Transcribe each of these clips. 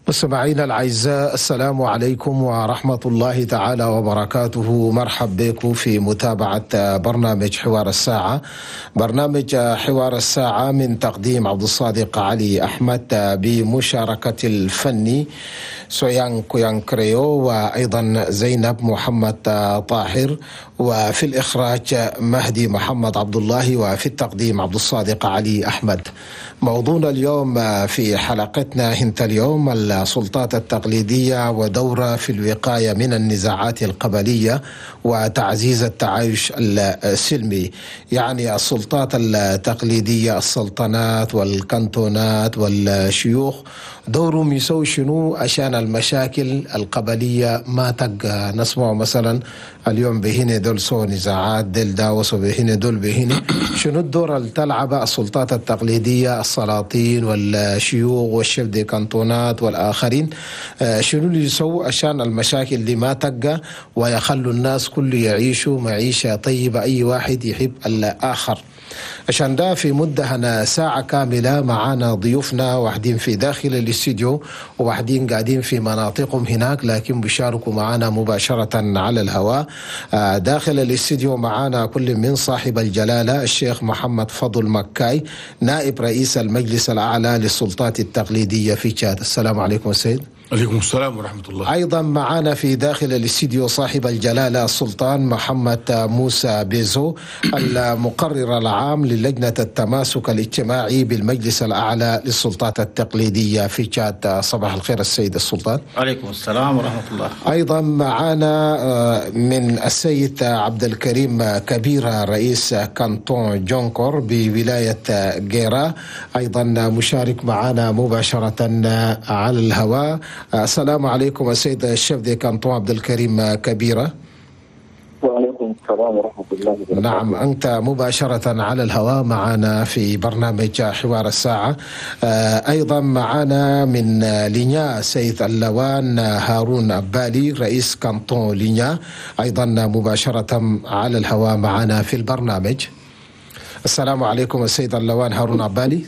مستمعينا الأعزاء، السلام عليكم ورحمة الله تعالى وبركاته. مرحب بكم في متابعة برنامج حوار الساعة. برنامج حوار الساعة من تقديم عبد الصادق علي أحمد بمشاركة الفني سويان كويان كريو وأيضا زينب محمد طاهر، وفي الإخراج مهدي محمد عبد الله، وفي التقديم عبد الصادق علي أحمد. موضوعنا اليوم في حلقتنا هنت اليوم السلطات التقليدية ودورها في الوقاية من النزاعات القبلية وتعزيز التعايش السلمي. يعني السلطات التقليدية، السلطنات والكنتونات والشيوخ، دورهم يسوي شنو عشان المشاكل القبلية ما تبقى؟ نسمع مثلا اليوم بهنا دول سو نزاعات، دل داوسوا بهنا دول بهنا. شنو الدور اللي تلعب السلطات التقليدية، السلاطين والشيوخ وال chefs de كانتونات والآخرين؟ شنو اللي يسووا عشان المشاكل دي ما تبقى ويخلوا الناس كل يعيشوا معيشة طيبة، أي واحد يحب الآخر؟ عشان ده في مدة هنا ساعة كاملة معانا ضيوفنا، واحدين في داخل الاستديو وواحدين قاعدين في مناطقهم هناك، لكن بيشاركوا معانا مباشرة على الهواء. داخل الاستديو معانا كل من صاحب الجلالة الشيخ محمد فضل مكاي، نائب رئيس المجلس الأعلى للسلطات التقليدية في تشاد. السلام عليكم السيد. عليكم السلام ورحمة الله. أيضا معنا في داخل الاستديو صاحب الجلالة السلطان محمد موسى بيزو، المقرر العام للجنة التماسك الاجتماعي بالمجلس الأعلى للسلطات التقليدية في تشاد. صباح الخير السيد السلطان. عليكم السلام ورحمة الله. أيضا معنا من السيد عبد الكريم كبيرة، رئيس كانتون جونكور بولاية جيرا، أيضا مشارك معنا مباشرة على الهواء. السلام عليكم السيد ال chef de canton عبد الكريم كبيرة. وعليكم السلام ورحمة الله وبركاته. نعم، أنت مباشرة على الهواء معنا في برنامج حوار الساعة. أيضا معنا من لينيا السيد اللوان هارون أبالي، رئيس كانتون لينيا، أيضا مباشرة على الهواء معنا في البرنامج. السلام عليكم السيد اللوان هارون أبالي.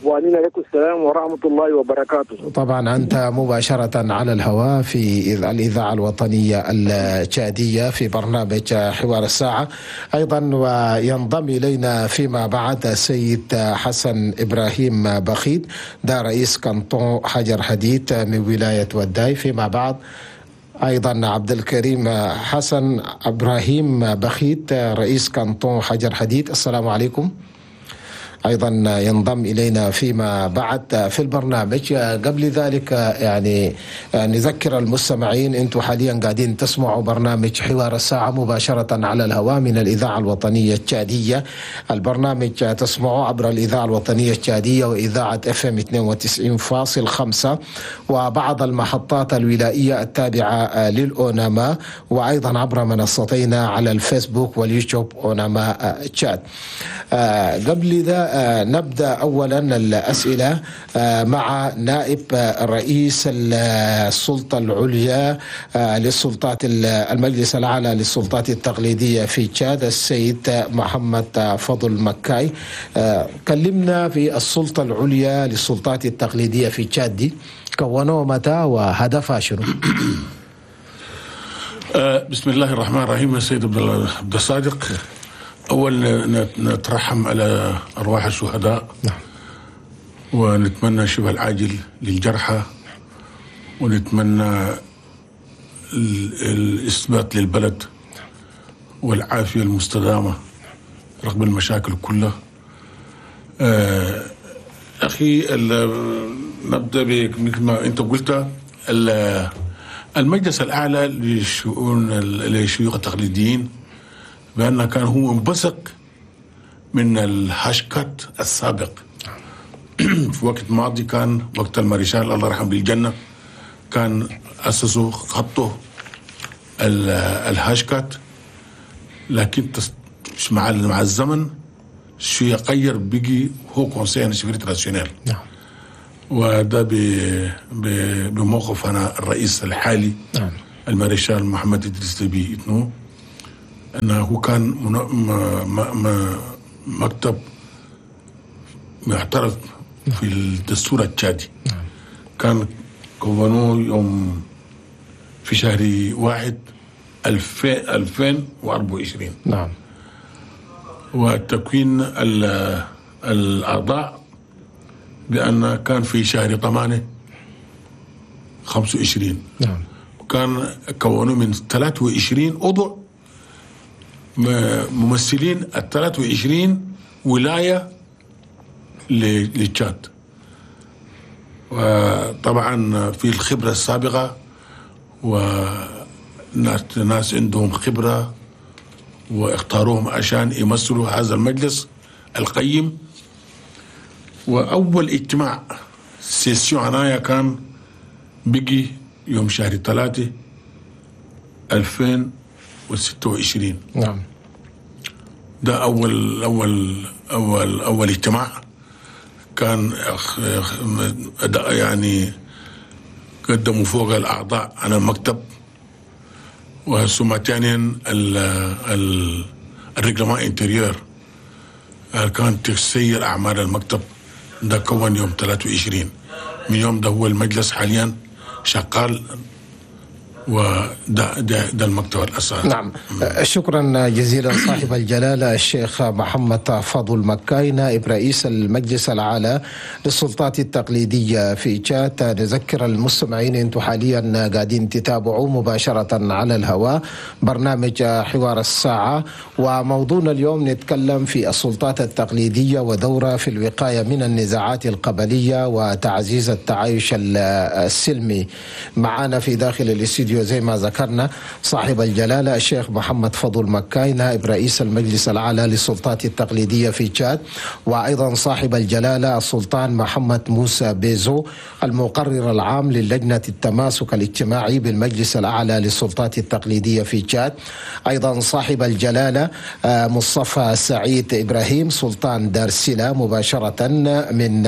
وعليكم السلام ورحمة الله وبركاته. طبعا أنت مباشرة على الهواء في الإذاعة الوطنية التشادية في برنامج حوار الساعة. أيضا وينضم إلينا فيما بعد السيد حسن إبراهيم بخيت، ده رئيس كانتون حجر حديد من ولاية وداي. فيما بعد أيضا عبد الكريم حسن إبراهيم بخيت، رئيس كانتون حجر حديد. السلام عليكم. أيضا ينضم إلينا فيما بعد في البرنامج. قبل ذلك يعني نذكر المستمعين، أنتم حاليا قاعدين تسمعوا برنامج حوار الساعة مباشرة على الهواء من الإذاعة الوطنية التشادية. البرنامج تسمعوه عبر الإذاعة الوطنية التشادية وإذاعة FM 92.5 وبعض المحطات الولائية التابعة للأوناما، وأيضا عبر منصتينا على الفيسبوك واليوتيوب أوناما تشاد. قبل ذا نبدأ أولا الأسئلة مع نائب رئيس السلطة العليا للسلطات المجلس الأعلى للسلطات التقليدية في تشاد السيد محمد فضل مكاي. كلمنا في السلطة العليا للسلطات التقليدية في تشاد دي، كونوها متى وهدفها شنو؟ بسم الله الرحمن الرحيم. السيد عبد الصادق، أول نترحم على أرواح الشهداء. نعم. ونتمنى الشفاء العاجل للجرحى، ونتمنى الإثبات للبلد والعافية المستدامة رغم المشاكل كلها. أخي، نبدأ مثل ما أنت قلت، المجلس الأعلى للشؤون للشيوخ التقليديين بأنه كان هو انبثق من ال HCAT السابق. في وقت ماضي كان وقت الماريشال الله يرحمه بالجنة، كان أسسوا خطه ال HCAT، لكن مع الزمن شيء غير، بقي Haut Conseil chefferie traditionnelle. نعم. وده بموقف أنا الرئيس الحالي. نعم. الماريشال محمد إدريس ديبي إتنو، أنه هو كان مكتب معترف في الدستور التشادي. نعم. كان كونوه يوم في شهر 1 2024. نعم. وتكوين الأعضاء بأن كان في شهر 8 25. نعم. وكان كونوا من 23 عضو ممثلين ال 23 ولاية لتشاد. وطبعا في الخبرة السابقة وناس عندهم خبرة واختاروهم عشان يمثلوا هذا المجلس القيم. وأول اجتماع session عناية كان بقي يوم شهر 3 2026. نعم. ده أول أول أول أول اجتماع كان يعني قدموا فوق الأعضاء على المكتب، وثم ثانيا ال règlement intérieur كان تسير أعمال المكتب. ده كون يوم 23. من يوم ده هو المجلس حاليا شغال، وده ده, ده المكتب الأساسي. نعم. شكرا جزيلا صاحب الجلالة الشيخ محمد فضل مكاي، نائب رئيس المجلس الأعلى للسلطات التقليدية في تشاد. نذكر المستمعين أنتم حاليا قاعدين تتابعوا مباشرة على الهواء برنامج حوار الساعة، وموضوعنا اليوم نتكلم في السلطات التقليدية ودورها في الوقاية من النزاعات القبلية وتعزيز التعايش السلمي. معنا في داخل الاستديو زي ما ذكرنا صاحب الجلالة الشيخ محمد فضل مكاي، نائب رئيس المجلس الأعلى للسلطات التقليدية في تشاد، وأيضا صاحب الجلالة السلطان محمد موسى بيزو، المقرر العام للجنة التماسك الاجتماعي بالمجلس الأعلى للسلطات التقليدية في تشاد، أيضا صاحب الجلالة مصطفى سعيد إبراهيم سلطان دارسيلا مباشرة من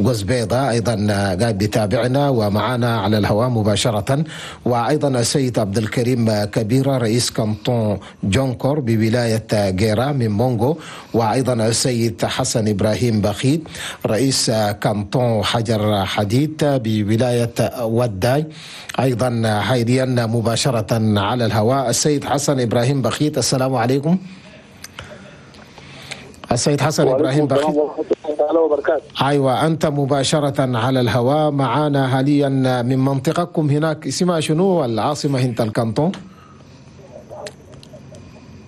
قزبيضة، أيضا قاعد بيتابعنا ومعنا على الهواء مباشرة، وأيضا السيد عبد الكريم كبيرة رئيس كانتون جونكور بولاية جيرا من مونغو، وأيضا السيد حسن إبراهيم بخيت رئيس كانتون حجر حديد بولاية وداي، أيضا حاليا مباشرة على الهواء السيد حسن إبراهيم بخيت. السلام عليكم السيد حسن إبراهيم بخيت. أيوة، أنت مباشرة على الهواء معانا حاليا من منطقتكم هناك، اسمها شنو العاصمة هنت الكانتون؟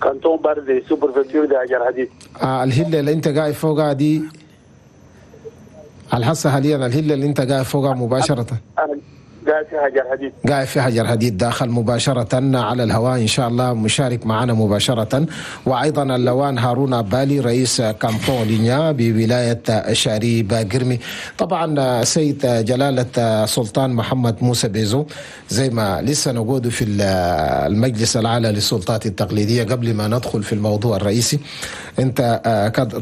كانتون باردي sous-préfecture de حجر حديد. الهلة اللي أنت قاعد فوقها دي الحصة حاليا، الهلة اللي أنت قاعد فوقها مباشرة. أنا قاعد في حجر حديد. قاعد في حجر حديد، داخل مباشرة على الهواء إن شاء الله، مشارك معنا مباشرة. وأيضا اللوان هارون أبالي رئيس كانتون لينيا بولاية شاري باقرمي. طبعا سيد جلالة سلطان محمد موسى بيزو، زي ما لسه نقول في المجلس الأعلى للسلطات التقليدية، قبل ما ندخل في الموضوع الرئيسي، أنت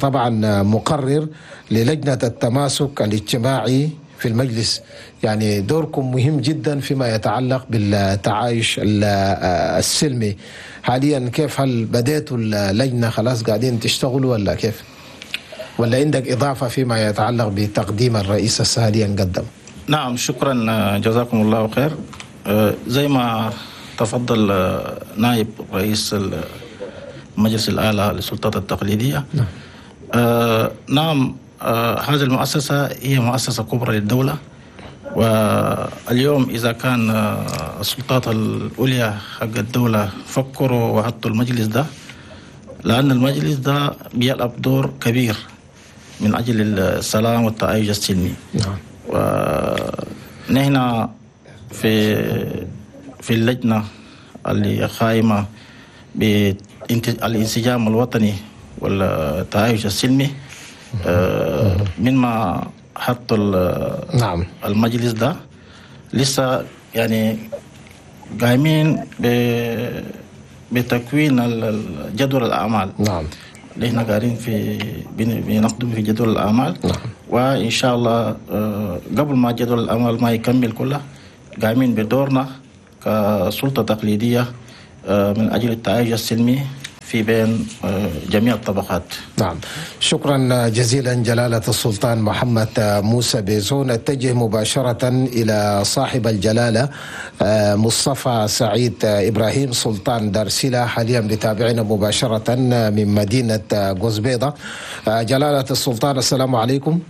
طبعا مقرر للجنة التماسك الاجتماعي في المجلس، يعني دوركم مهم جدا فيما يتعلق بالتعايش السلمي. حاليا كيف، هل بديتوا اللجنة خلاص قاعدين تشتغلوا ولا كيف؟ ولا عندك إضافة فيما يتعلق بتقديم الرئيس حاليا قدم؟ نعم، شكرا، جزاكم الله خير. زي ما تفضل نائب رئيس المجلس الأعلى للسلطات التقليدية. نعم. نعم، هذه المؤسسة هي مؤسسة كبرى للدولة، واليوم إذا كان السلطات العليا حق الدولة فكروا وحطوا المجلس ده، لأن المجلس ده بيلعب دور كبير من أجل السلام والتعايش السلمي. نعم. ونحن في اللجنة اللي قائمة بالانسجام الوطني والتعايش السلمي، من ما حطوا نعم المجلس ده لسه يعني قايمين بتكوين جدول الأعمال. نعم. اللي احنا قاعدين في بنقدم في جدول الأعمال. نعم. وإن شاء الله قبل ما جدول الأعمال ما يكمل كله، قايمين بدورنا كسلطة تقليدية من أجل التعايش السلمي في بين جميع الطبقات. نعم، شكرا جزيلا جلالة السلطان محمد موسى بيزو. نتجه مباشرة إلى صاحب الجلالة مصطفى سعيد إبراهيم سلطان دارسيلا، حاليا بتابعنا مباشرة من مدينة قوز بيضة. جلالة السلطان السلام عليكم.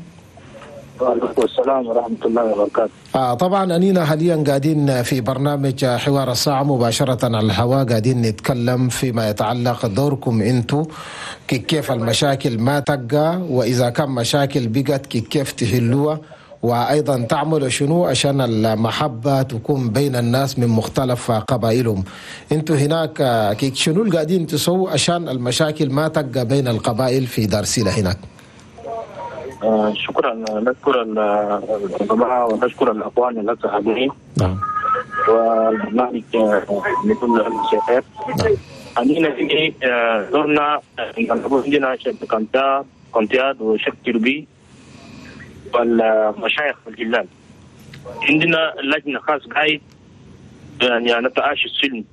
وعليكم السلام ورحمة الله وبركاته. طبعا أنينا حاليا قاعدين في برنامج حوار الساعة مباشرة على الهواء، قاعدين نتكلم فيما يتعلق دوركم انتو، كيف المشاكل ما تبقى، وإذا كان مشاكل بقت كيف تحلوها، وأيضا تعملوا شنو عشان المحبة تكون بين الناس من مختلف قبائلهم. انتو هناك شنو اللي قاعدين تسووا عشان المشاكل ما تبقى بين القبائل في دارسيلة هناك؟ شكرا، نشكر الجماعة ونشكر الأخوان اللي حاضرين. نعم. والبرنامج لكل الشيخات. نعم. أنينا في دورنا عندنا chef canton كونتياد وشيخ tribu والمشايخ الجلال. عندنا لجنة خاص قايد يعني نتعايش السلم،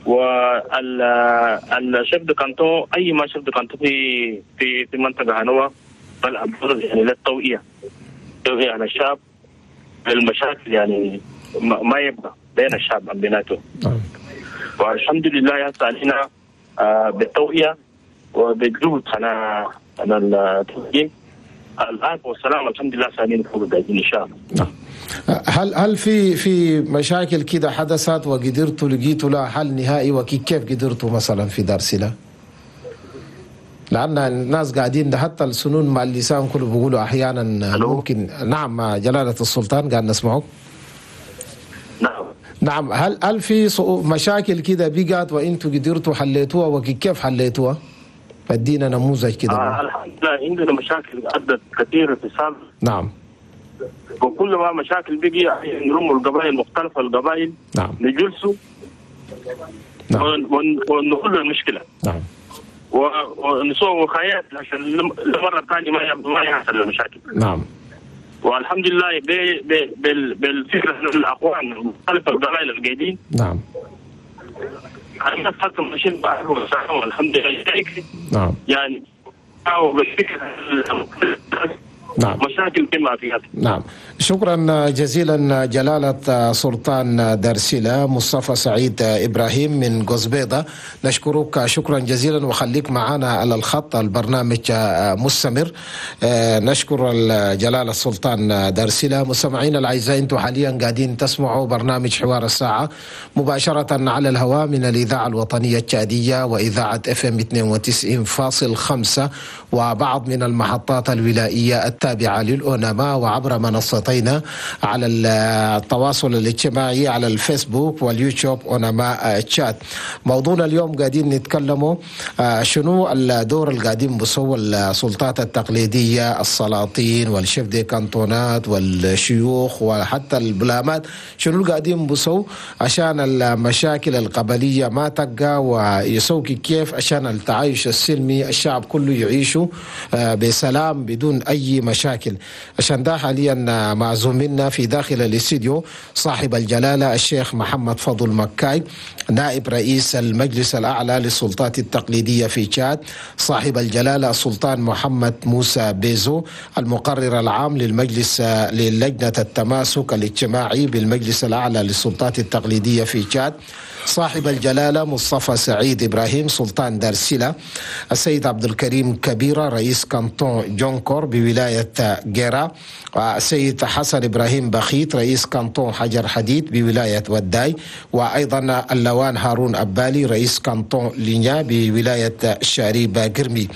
وال chef de canton أي ما chef de canton في في في منطقة هنوة بلعب دور يعني للتوعية، توعية على الشعب المشاكل يعني ما يبقى بين الشعب بيناته. والحمد لله هسه علينا بالتوعية وبالجهد على التوجيه الآن والسلام، الحمد لله سالين فوق إن شاء الله. نعم. هل في مشاكل كده حدثت وقدرتوا لقيتوا لها حل نهائي، وكيف قدرتوا مثلا في دارسيلا؟ لأن الناس قاعدين حتى السنون مع اللسان كله بيقولوا أحيانا ممكن. نعم جلالة السلطان قاعد نسمعك. نعم. نعم، هل في مشاكل كده بقت وانتوا قدرتوا حليتوها، وكيف حليتوها؟ ادينا نموذج كده. الحمد لله عندنا مشاكل عدت كثير في السابق. نعم. وكل ما مشاكل بقي نرموا القبائل مختلفة القبائل. نعم. نجلسوا. نعم. ونحل المشكلة. نعم. ونسوي وقايات عشان المرة الثانية ما يحصل المشاكل. نعم. والحمد لله بالفكرة الاخوان مختلف القبائل القايدين. نعم. الناس حتى ماشيين والحمد لله. نعم. يعني بالفكرة. نعم. مشاكل كما فيها. نعم، شكرا جزيلا جلالة سلطان دارسيلا مصطفى سعيد إبراهيم من قوز بيضة، نشكرك شكرا جزيلا وخليك معنا على الخط، البرنامج مستمر. نشكر جلالة السلطان دارسيلا. مستمعينا الأعزاء، انتم حاليا قاعدين تسمعوا برنامج حوار الساعة مباشرة على الهواء من الإذاعة الوطنية التشادية وإذاعة FM 92.5 وبعض من المحطات الولائية التابعة للأونما، وعبر منصتينا على التواصل الاجتماعي على الفيسبوك واليوتيوب أونما تشاد. موضوعنا اليوم قاعدين نتكلموا شنو الدور اللي قاعدين بسووا السلطات التقليدية، السلاطين وال chefs de canton ات والشيوخ وحتى البلامات، شنو اللي قاعدين بسووا عشان المشاكل القبلية ما تبقى، ويسووا كيف عشان التعايش السلمي الشعب كله يعيشوا بسلام بدون أي مشاكل. عشان ده حاليا معزومنا في داخل الاستديو صاحب الجلالة الشيخ محمد فضل مكاي، نائب رئيس المجلس الأعلى للسلطات التقليدية في تشاد، صاحب الجلالة السلطان محمد موسى بيزو، المقرر العام للمجلس للجنة التماسك الاجتماعي بالمجلس الأعلى للسلطات التقليدية في تشاد، صاحب الجلالة مصطفى سعيد إبراهيم سلطان دارسيلا، السيد عبد الكريم كبيرة رئيس كانتون جونكور بولاية جيرا، والسيد حسن إبراهيم بخيت رئيس كانتون حجر حديد بولاية وداي، وأيضا اللوان هارون أبالي رئيس كانتون لينيا بولاية شاريبا قرمي.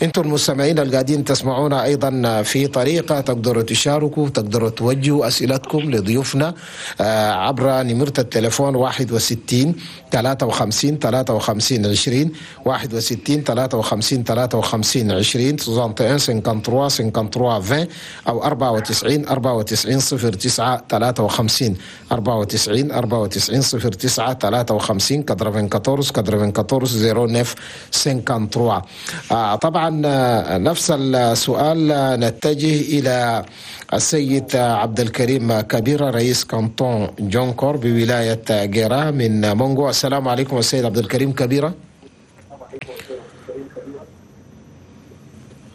انتم المستمعين القاعدين تسمعونا أيضا في طريقة تقدروا تشاركوا، تقدروا توجهوا أسئلتكم لضيوفنا عبر نمرة التليفون 61 53 53 20 61 53 53 20 61 53 53 20 أو 94 94 09 53 94 94 09 53 94 94 09 53. طبعا نفس السؤال نتجه إلى السيد عبد الكريم كبيرة رئيس كانتون جونكور بولاية جيرا من مونغو. السلام عليكم السيد عبد الكريم كبيرة.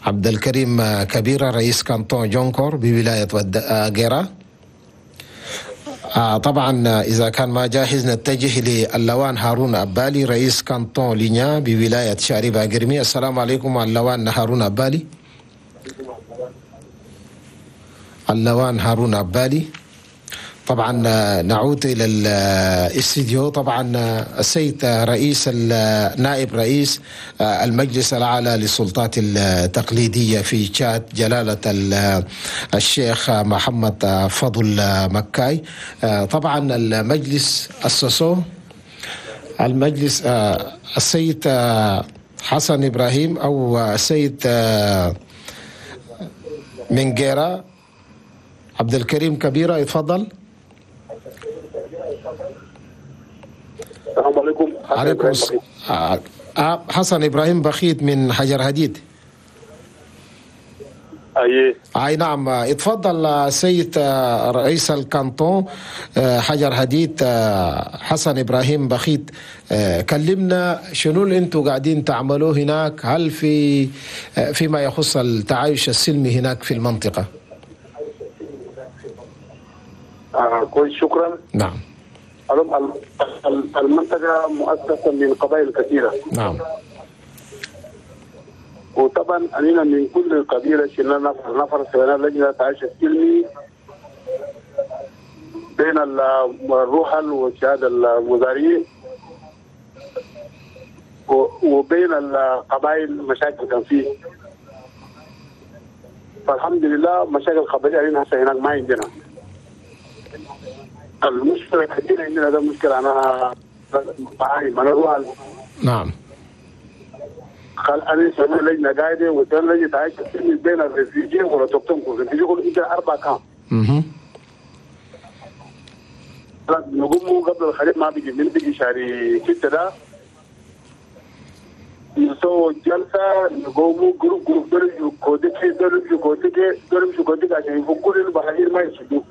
عبد الكريم كبيرة رئيس كانتون جونكور بولاية غيرا. طبعا إذا كان ما جاهز نتجه للوان هارون أبالي رئيس كانتون لينيا بولاية شاربة قرمي. السلام عليكم اللوان هارون أبالي. اللوان هارون أبالي. طبعا نعود إلى الاستديو. طبعا السيد رئيس نائب رئيس المجلس الأعلى للسلطات التقليدية في تشاد جلالة الشيخ محمد فضل مكاي. طبعا المجلس أسسوه المجلس السيد حسن إبراهيم أو السيد منجيرا عبد الكريم كبيرة، يتفضل. السلام عليكم. عليكم حسن إبراهيم بخيت من حجر هديد. أي نعم، اتفضل سيد رئيس الكانتون حجر هديد حسن إبراهيم بخيت، كلمنا شنو اللي انتم قاعدين تعملوه هناك، هل في فيما يخص التعايش السلمي هناك في المنطقة؟ كويس، شكرا. نعم. المنطقة مؤسسة من قبائل كثيرة. نعم. وطبعا أننا من كل قبيلة شلنا نفر سوينا لجنة تعايش السلمي بين الرحل والشهادة المزارعين وبين القبائل مشاكل كان فيه. فالحمد لله مشاكل القبلية علينا هسه هناك ما عندنا. المشكلة الكبيرة عندنا ده مشكلة أنا معاي أنا الرحل. نعم. قال أنا سوينا لجنة قاعدة وسوينا لجنة تعايش السلمي بين ال réfugiés وال autochtones. ال réfugiés كل إنت 4 camps. نقوم قبل الخريف ما بيجي من بيجي شهر 6 ده نسوي جلسة نقوم groupe groupe دول كوديكي دول كوديكي دول كوديكي عشان يفكوا البحرين ما يسدوا.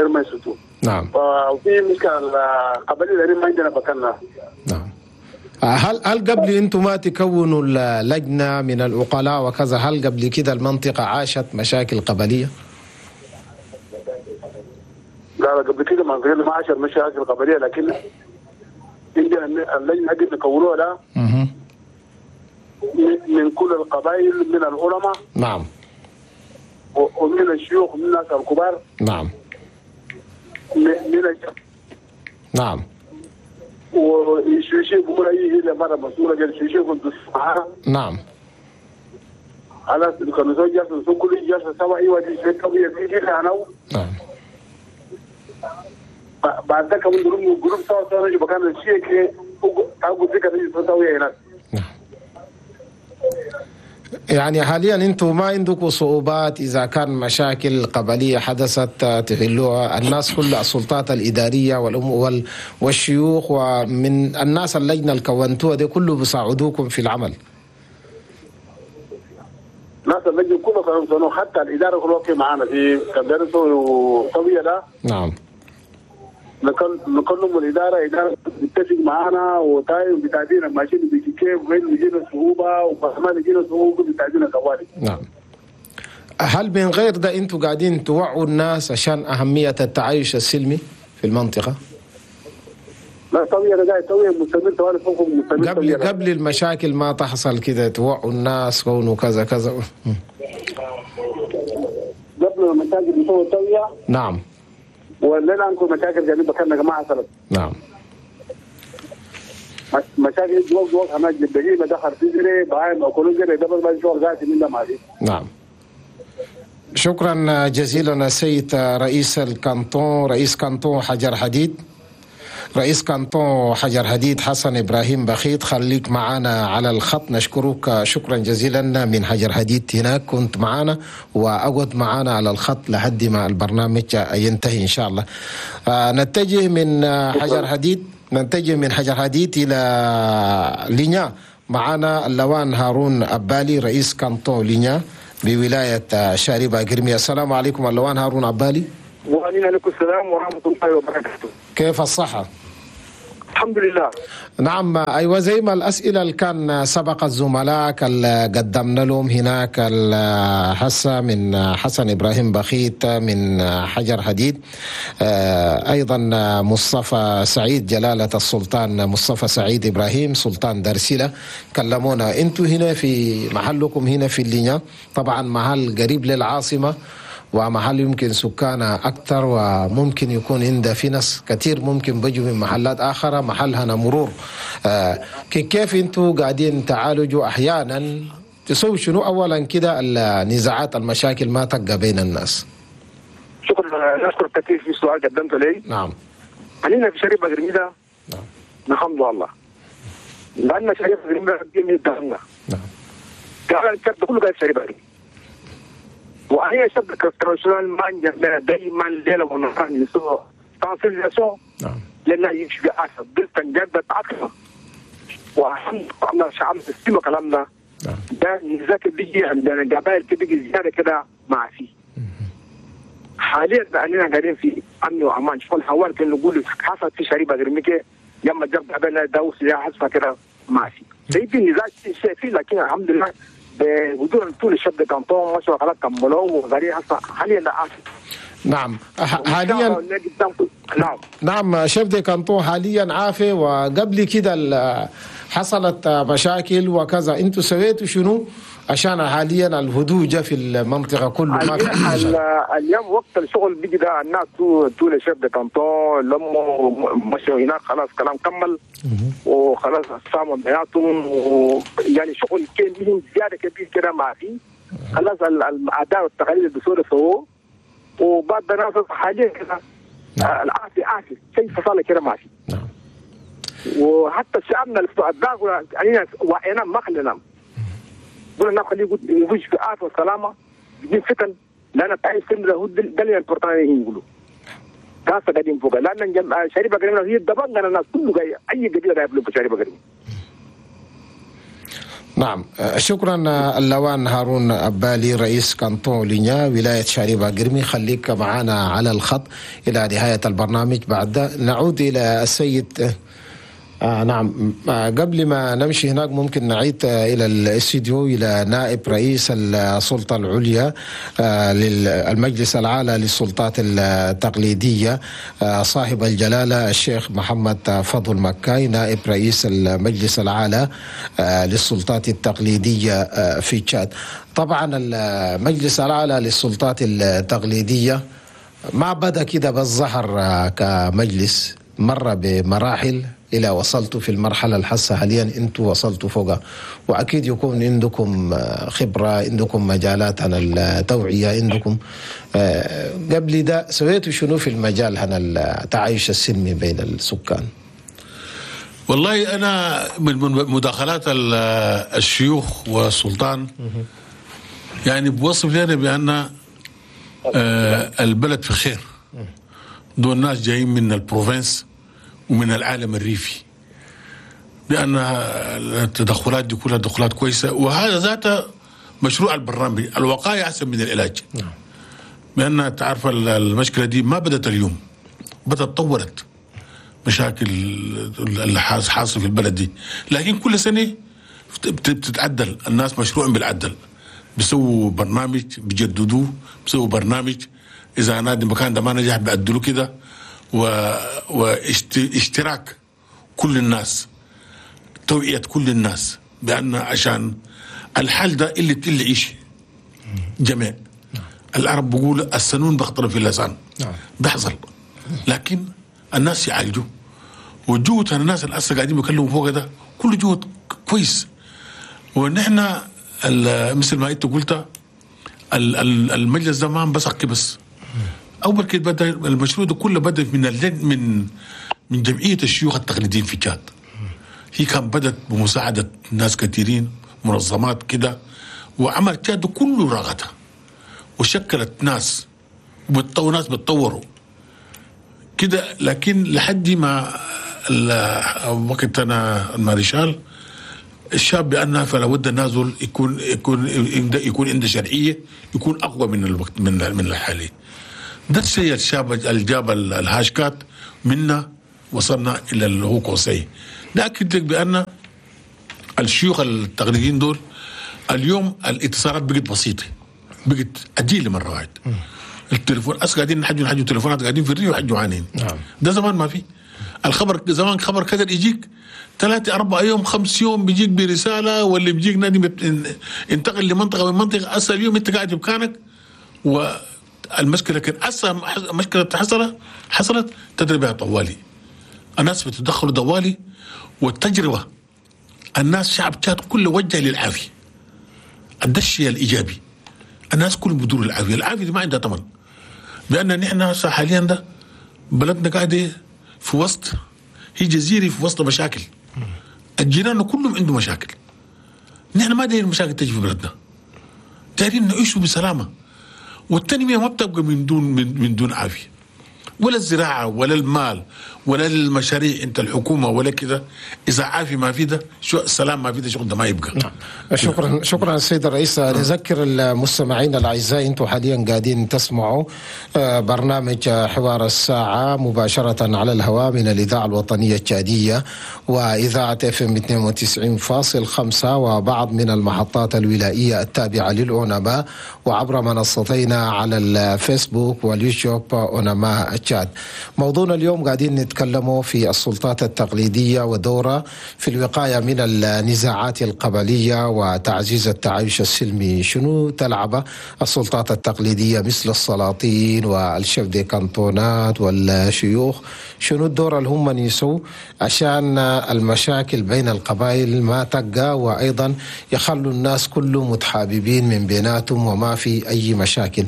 ما يسدوا. نعم. وفي مشكلة القبلية اللي ما عندنا بكنا. نعم. هل قبل انتم ما تكونوا اللجنة من العقلاء وكذا، هل قبل كده المنطقة عاشت مشاكل قبلية؟ لا قبل كده ما عاشت مشاكل قبلية، لكن عندنا اللجنة دي نكونوها لا من كل القبائل، من العلماء. نعم. ومن الشيوخ ومن الناس الكبار. نعم. من نعم. والشيوخ بيقول اي هي مرة مسؤولة قال الشيوخ كنت معاها. نعم. خلاص كانوا جلسوا كل جلسه سوا ايوه دي شوية بيجي انا. نعم. بعد ذاك من groupe سوا سوا نجي مكان الشيء أقول فكرة نجي سوا هناك. نعم. يعني حاليا انتم ما عندكم صعوبات اذا كان مشاكل قبليه حدثت تحلوها الناس كل السلطات الادارية والشيوخ ومن الناس اللجنة اللي كونتوها دي كله بيساعدوكم في العمل؟ ناس اللجنة كله كانوا حتى الادارة كلها واقفة معانا في كان سويه ده. نعم. نكلم الإدارة، إدارة بتتفق معانا وتاي وبتعدينا ماشيين بيجي كيف وين بيجينا صعوبة وما بيجينا صعوبة بتعدينا طوالي. نعم. هل من غير ده أنتوا قاعدين توعوا الناس عشان أهمية التعايش السلمي في المنطقة؟ لا طبيعي قاعد توعية مستمر طوالي فوقهم مستمر. قبل المشاكل ما تحصل كده توعوا الناس كونوا كذا كذا. قبل المشاكل نسوي توعية. نعم. ولا عندكم مشاكل جانب كان جماعة حصلت. نعم. مشاكل جوك جوك انا جبهي دخل في جري باي ما كل جري دبل ما شو قاعد من ده ما. نعم. شكرا جزيلا السيد رئيس الكانتون، رئيس كانتون حجر حديد، رئيس كانتون حجر حديد حسن إبراهيم بخيت، خليك معنا على الخط. نشكرك شكرا جزيلا من حجر حديد هناك، كنت معنا وأقعد معنا على الخط لحد ما البرنامج ينتهي إن شاء الله. نتجه من حجر حديد، نتجه من حجر حديد إلى لينيا. معنا اللوان هارون أبالي رئيس كانتون لينيا بولاية شاربة قرمية. السلام عليكم اللوان هارون أبالي. وعليكم السلام ورحمة الله وبركاته. كيف الصحة؟ الحمد لله. نعم أيوة، زي ما الأسئلة اللي كان سبق الزملاء اللي قدمنا لهم هناك حسا من حسن إبراهيم بخيت من حجر حديد، أيضا مصطفى سعيد جلالة السلطان مصطفى سعيد إبراهيم سلطان درسلة، كلمونا أنتوا هنا في محلكم هنا في اللينيا، طبعا محل قريب للعاصمة ومحل يمكن سكانها أكثر، وممكن يكون عند في ناس كثير ممكن بيجوا من محلات آخرى، محل هنا مرور. كيف انتوا قاعدين تعالجوا أحيانا تسووا شنو أولا كده النزاعات المشاكل ما تبقى بين الناس؟ شكرا، نشكر كثير في سؤال قدمته لي. نعم. خلينا في شريف قرميدة. نعم. نحمد الله لأن شريف قرميدة قدامنا. نعم. قال الكرد كله قاعد شريف قرميدة. وهي شبكة internationale ما دائما ليلة ونهار نسوق sensibilisation. نعم. لأن يمشي بأسف بالتنجد تعطينا والحمد لله شعب السيما كلامنا. نعم. ده نزاك بيجي عندنا قبائل بيجي زيادة كده مع فيه. حاليا بقينا قاعدين في أمن وأمان. شوف الحوار كان نقول حصل في شريبة غرميكة يما جاب قبائلنا داوس يا حصل كده مع فيه. زي في نزاع شيء فيه، لكن الحمد لله بوجود طول ال chef de canton مشوا خلاص كملوه وغير حاليا لا. نعم حاليا. نعم نعم chef de canton حاليا عافي، وقبل كده حصلت مشاكل وكذا، انتوا سويتوا شنو عشان حاليا الهدوء جاء في المنطقة كله؟ ما في اليوم وقت الشغل بيجي ده الناس طول chef de canton لما مشوا هناك خلاص كلام كمل وخلاص ساموا بياتهم، ويعني شغل كان مهم زيادة كبير كده ما في خلاص الاداء والتقاليد الدستوري سووه، وبعد ناس حاليا كده العافية عافية شيء فصل كده ما في. نعم. وحتى شعبنا اللي علينا وعينا ما خلينا قلنا خليه يخش في عافية وسلامه بدون فتن، لان تعيش سن ده ده اللي البريطانيين يقولوا كاسه قاعدين فوق، لان شريبه قريبه هي دبنا الناس كله جاي اي قبيلة جايب له شريبه قريبه. نعم شكرا اللوان هارون أبالي رئيس كانتون لينيا ولاية شاربة قرمي، خليك معنا على الخط إلى نهاية البرنامج. بعد نعود إلى السيد نعم، قبل ما نمشي هناك ممكن نعيد إلى الاستديو إلى نائب رئيس السلطة العليا للمجلس الأعلى للسلطات التقليدية صاحب الجلالة الشيخ محمد فضل مكاي، نائب رئيس المجلس الأعلى للسلطات التقليدية في تشاد. طبعا المجلس الأعلى للسلطات التقليدية ما بدأ كده بالظهر كمجلس، مر بمراحل إلى وصلتوا في المرحلة الحاسة حاليا أنتوا وصلتوا فوقها، وأكيد يكون عندكم خبرة، عندكم مجالات عن التوعية، عندكم قبل ده سويتوا شنو في المجال عن التعايش السلمي بين السكان؟ والله أنا من مداخلات الشيوخ والسلطان يعني بوصف لنا بأن البلد في خير، دول الناس جايين من ال province ومن العالم الريفي، بأن التدخلات دي كلها تدخلات كويسة، وهذا ذاته مشروع البرنامج الوقاية أحسن من العلاج. بأن تعرف المشكلة دي ما بدأت اليوم، بدأت تطورت مشاكل اللي حاصل في البلد دي، لكن كل سنة بتتعدل، الناس مشروع بالعدل، بيسووا برنامج بيجددوه، بيسووا برنامج إذا نادي مكان ده ما نجح بيعدلوه كده، واشتراك كل الناس، توعية كل الناس بأن عشان الحال ده اللي يعيش جميع. العرب بيقولوا السنون بخطر في اللسان، بيحصل، لكن الناس يعالجوا، وجهد الناس اللي هسه قاعدين بيكلموا فوق ده كل جهد كويس. ونحن مثل ما انت قلت المجلس ده ما بس بس اول كده بدا المشروع ده كله بدا من من جمعية الشيوخ التقليديين في تشاد. هي كان بدت بمساعدة ناس كثيرين، منظمات كده، وعمل تشاد كله راغتها وشكلت ناس ناس بتطوروا كده. لكن لحد ما وقت انا الماريشال الشاب بأنها فلا بد النازل يكون يكون يكون عنده شرعية، يكون اقوى من الوقت من الحالي. ده الشيء الشاب اللي جاب الهاشكات منا وصلنا الى اللي هو conseil. ده اكد لك بان الشيوخ التقليديين دول اليوم الاتصالات بقت بسيطة، بقت اجيله مرة واحدة. التليفون أس قاعدين نحجوا تليفونات، قاعدين في الريف ويحجوا عنين. نعم. ده زمان ما في الخبر، زمان خبر كذا يجيك 3 4 يوم 5 يوم بيجيك برسالة، واللي بيجيك نادي انتقل لمنطقه من منطقة. هسه اليوم انت قاعد بمكانك والمشكلة كان هسه مشكلة حصلت تدري بها طوالي، الناس بتدخلوا دوالي. والتجربة الناس شعب تشاد كله وجه للعافيه، ده الشيء الايجابي، الناس كلهم بدور العافية، العافية دي ما عندها ثمن. بان نحن حاليا ده بلدنا قاعدة في وسط، هي جزيرة في وسط مشاكل، الجيران كلهم عندهم مشاكل، نحن ما دايرين المشاكل تجي في بلدنا، دايرين نعيشوا بسلامه. والتنمية ما بتبقى من دون عافية، ولا الزراعة ولا المال ولا المشاريع انت الحكومة ولا كده. اذا عافية ما في ده، شو السلام ما في ده، شغل ده ما يبقى. نعم. شكرا السيد الرئيس. نذكر المستمعين الاعزاء، انتم حاليا قاعدين تسمعوا برنامج حوار الساعة مباشرة على الهواء من الاذاعة الوطنية التشاديه واذاعة FM 92.5 وبعض من المحطات الولائيه التابعة للأونما، وعبر منصتينا على الفيسبوك واليوتيوب أونما تشاد. موضوعنا اليوم قاعدين نتكلموا في السلطات التقليدية ودورها في الوقاية من النزاعات القبلية وتعزيز التعايش السلمي. شنو تلعب السلطات التقليدية مثل السلاطين وال chefs de canton ات والشيوخ؟ شنو الدور اللي هم يسوا عشان المشاكل بين القبائل ما تقى، وأيضا يخلوا الناس كلهم متحاببين من بيناتهم وما في أي مشاكل؟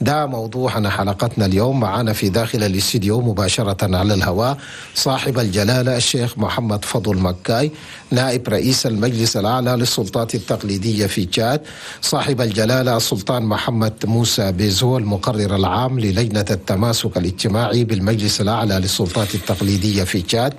ده موضوعنا حلقتنا اليوم. معنا في داخل الاستديو مباشرة على الهواء صاحب الجلالة الشيخ محمد فضل مكاي، نائب رئيس المجلس الأعلى للسلطات التقليدية في تشاد، صاحب الجلالة السلطان محمد موسى بيزو المقرر العام للجنة التماسك الاجتماعي بالمجلس الأعلى للسلطات التقليدية في تشاد،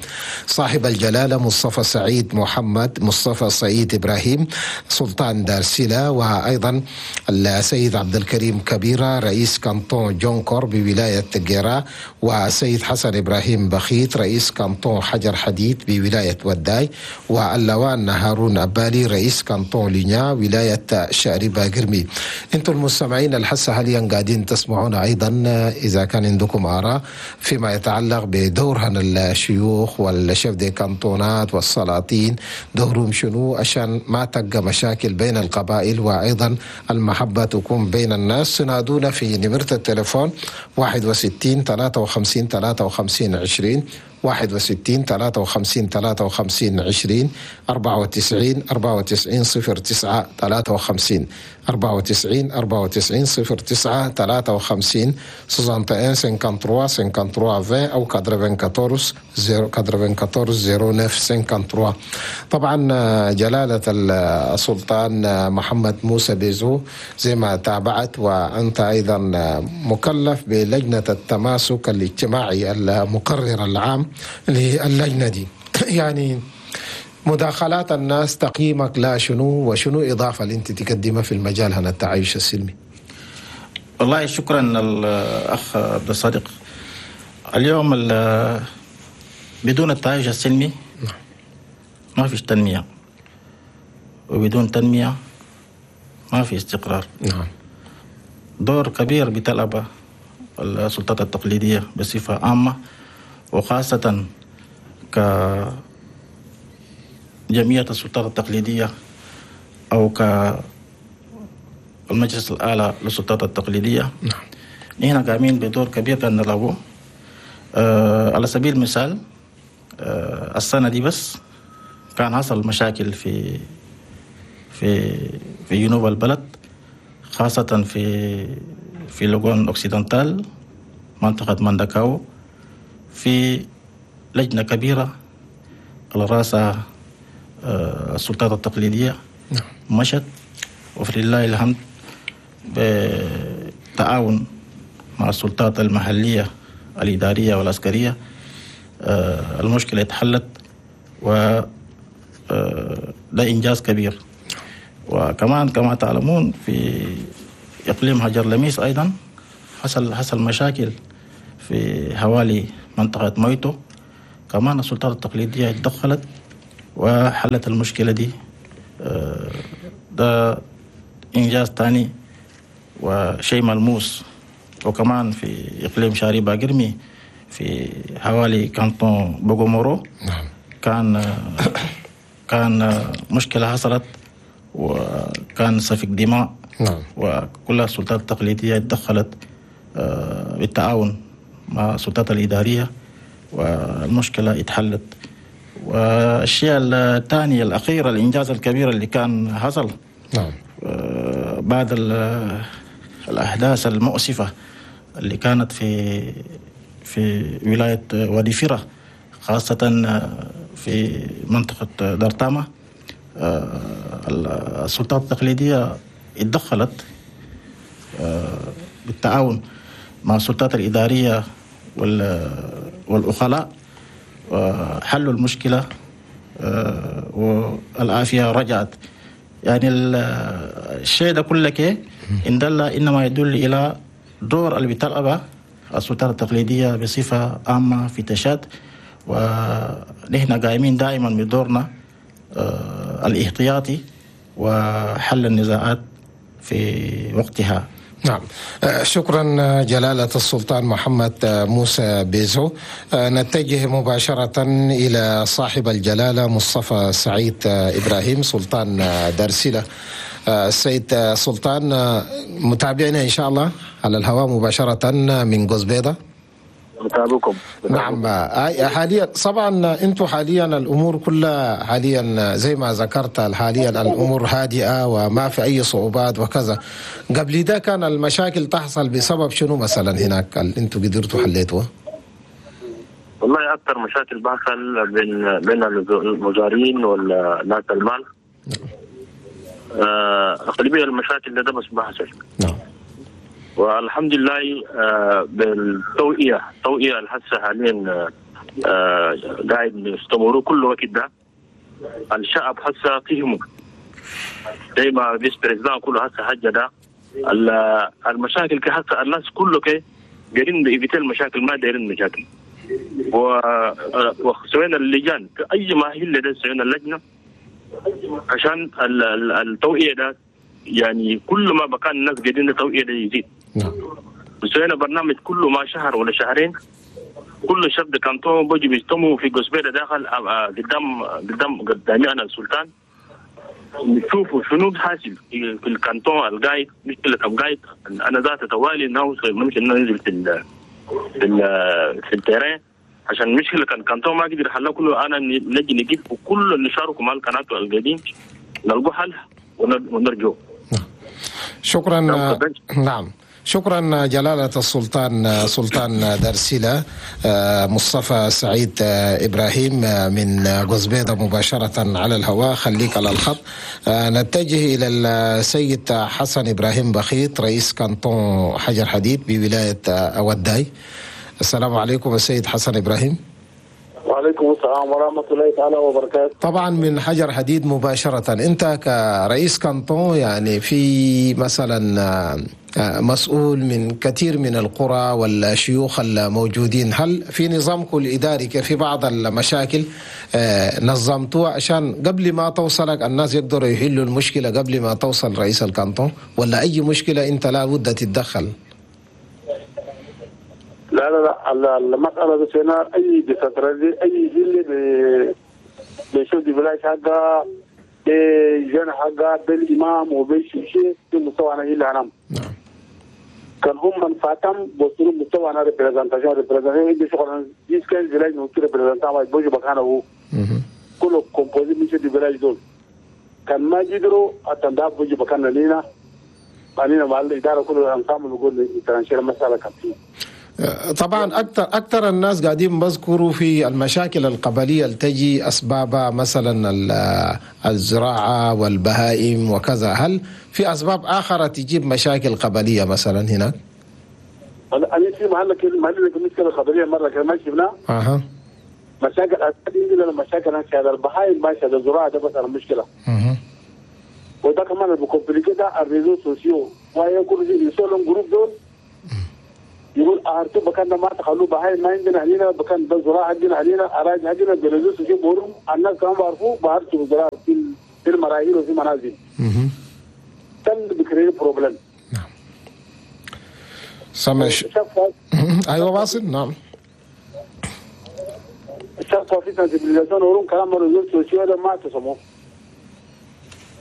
صاحب الجلالة مصطفى سعيد محمد مصطفى سعيد إبراهيم سلطان دارسيلا، وأيضا السيد عبد الكريم كبيرة رئيس كانتون جونكور بولاية جيرا، وسيد حسن إبراهيم بخيت رئيس كانتون حجر حديد بولاية وداي، واللوان هارون أبالي رئيس كانتون لينيا ولاية شاربة قرمي. انتم المستمعين الحسة حاليا قاعدين تسمعون أيضا، إذا كان عندكم آراء فيما يتعلق بدورهن الشيوخ وال chefs de canton ات والسلاطين، دورهم شنو عشان ما تبقى مشاكل بين القبائل وأيضا المحبة تكون بين الناس، تنادونا في نمرة التليفون 61 53 53 20، 61 53 53 20، 94 94 09 53، 94 94 09 53، 61 53 53 20 أو 94 94 09 53. طبعا جلالة السلطان محمد موسى بيزو زي ما تابعت، وأنت أيضا مكلف بلجنة التماسك الاجتماعي المقرر العام للجنة دي، يعني مداخلات الناس تقييمك لا شنو، وشنو إضافة اللي أنت تقدمها في المجال هنا التعايش السلمي؟ والله شكرا الأخ عبد الصادق. اليوم بدون التعايش السلمي ما فيش تنمية، وبدون تنمية ما في استقرار. نعم. دور كبير بتلعبه السلطات التقليدية بصفة عامة، وخاصة كجمعية السلطات التقليدية أو كالمجلس الأعلى للسلطات التقليدية. نعم. نحن قايمين بدور كبير كان نلعبه. على سبيل المثال السنة دي بس كان حصل مشاكل في في في جنوب البلد، خاصة في لوغون أوكسيدنتال منطقة مانداكاو، في لجنة كبيرة على رأسها السلطات التقليدية مشت، وفلله الحمد بتعاون مع السلطات المحلية الإدارية والعسكرية المشكلة اتحلت، و ده إنجاز كبير. وكمان كما تعلمون في إقليم هجر لميس أيضا حصل مشاكل في حوالي منطقة مويتو، كمان السلطات التقليدية اتدخلت وحلت المشكلة دي. ده إنجاز تاني وشيء ملموس. وكمان في إقليم شاري باقرمي في حوالي كانتون بوغومورو نعم. كان مشكلة حصلت وكان سفك دماء. نعم. وكل السلطات التقليدية تدخلت بالتعاون مع السلطات الإدارية والمشكلة اتحلت. والشيء الثاني الأخير، الإنجاز الكبير اللي كان حصل، نعم، بعد الأحداث المؤسفة اللي كانت في ولاية وادي فيرة، خاصة في منطقة دارتاما، السلطات التقليدية اتدخلت بالتعاون مع السلطات الإدارية والأخلاء، حلوا المشكلة والعافية رجعت. يعني الشيء ده كله إن دل إنما يدل إلى دور اللي بتلعبه السلطات التقليدية بصفة عامة في تشاد، ونحن قائمين دائما بدورنا الاحتياطي وحل النزاعات في وقتها. نعم، شكرا جلالة السلطان محمد موسى بيزو. نتجه مباشرة إلى صاحب الجلالة مصطفى سعيد إبراهيم سلطان دارسيلة. السيد سلطان، متابعنا إن شاء الله على الهواء مباشرة من قزبيضة. متابعكم. نعم، حاليا طبعا انتم حاليا الامور كلها حاليا زي ما ذكرت، حاليا الامور هادئة وما في اي صعوبات وكذا. قبل ده كان المشاكل تحصل بسبب شنو مثلا هناك انتم قدرتوا حليتوها؟ والله اكثر مشاكل بحصل بين المزارعين والناس المال. اغلبية المشاكل ده بس بحصل. نعم. والحمد لله بالتوعية، التوعية الحسة حاليا قاعد نستمروا كل وقت ده. الشعب حسة فهمه زي ما vice président كله حسة حاجة ده المشاكل كحسة الناس كله كي دايرين éviter المشاكل، ما دايرين مشاكل. وسوينا اللجان اي ما هي اللي ده سوينا اللجنة عشان التوعية ده، يعني كل ما بكان الناس قاعدين التوعية ده يزيد. نعم. وسوينا برنامج كل ما شهر ولا شهرين كل chef de canton بيجي بيجتمعوا في قصبيرة داخل قدام قدام قدامي انا السلطان، نشوفوا شنو حاصل في الكانتون القايد، مشكلة القايد. انا ذات توالي نوصل ممكن ننزل في ال في ال في ال terrain عشان المشكلة كان كانتون ما قدر يحلها كله، انا نجي نجيب وكل اللي شاركوا مع القناة القديم نلقوا حل ونرجو. شكرا. نعم، شكرا جلالة السلطان سلطان دارسيلة مصطفى سعيد إبراهيم من قزبيضة مباشرة على الهواء. خليك على الخط. نتجه إلى السيد حسن إبراهيم بخيت رئيس كانتون حجر حديد بولاية أوداي. السلام عليكم السيد حسن إبراهيم. وعليكم السلام ورحمة الله تعالى وبركاته. طبعا من حجر حديد مباشرة، أنت كرئيس كانتون يعني في مثلا مسؤول من كثير من القرى والشيوخ الموجودين، هل في نظامكم الإداري في بعض المشاكل نظمتوها عشان قبل ما توصلك الناس يقدروا يحلوا المشكلة قبل ما توصل رئيس الكانتون، ولا أي مشكلة أنت لا بد تتدخل؟ لا لا لا، المسألة بس هنا أي décentralisé أي جيل بيشوف du village حقها بجن حقها بالإمام وبالشيء في مستوى أنا إلا أنا. نعم. كان هم من فاتم بوصلوا مستوى أنا représentation عندي شغل 10 15 village ممكن représentant واحد بوجي بكانه هو. كله composé من chefs de village دول. كان ما يقدروا أتنداب بوجي بكانه لينا. بعدين مع الإدارة كله أنصام بيقول trancher المسألة كان. طبعا اكثر الناس قاعدين بذكروا في المشاكل القبلية اللي تجي اسبابها مثلا الزراعة والبهائم وكذا، هل في اسباب اخرى تجيب مشاكل قبليه مثلا هناك؟ انا في محل المشكلة القبلية مرة كمان شفناها. اها. مشاكل المشاكل هذا البهائم ماشي هذا الزراعة ده بس المشكلة. وده كمان ال compliqué ده ال réseaux sociaux ويكون يسولون groupe دول يقول دول أهرتوا بكان ما تخلوا بهاي ما عندنا هنا بكان ده زراعة عندنا هنا أراضي عندنا بلزوس في بورم الناس كانوا بعرفوا بعرفوا زراعة في المراحل وفي منازل. تم بكري بروبلم. نعم. سامع. أيوة واصل. نعم. الشخص في sensibilisation ورون كلام رجول سوسيو ده ما تسمو.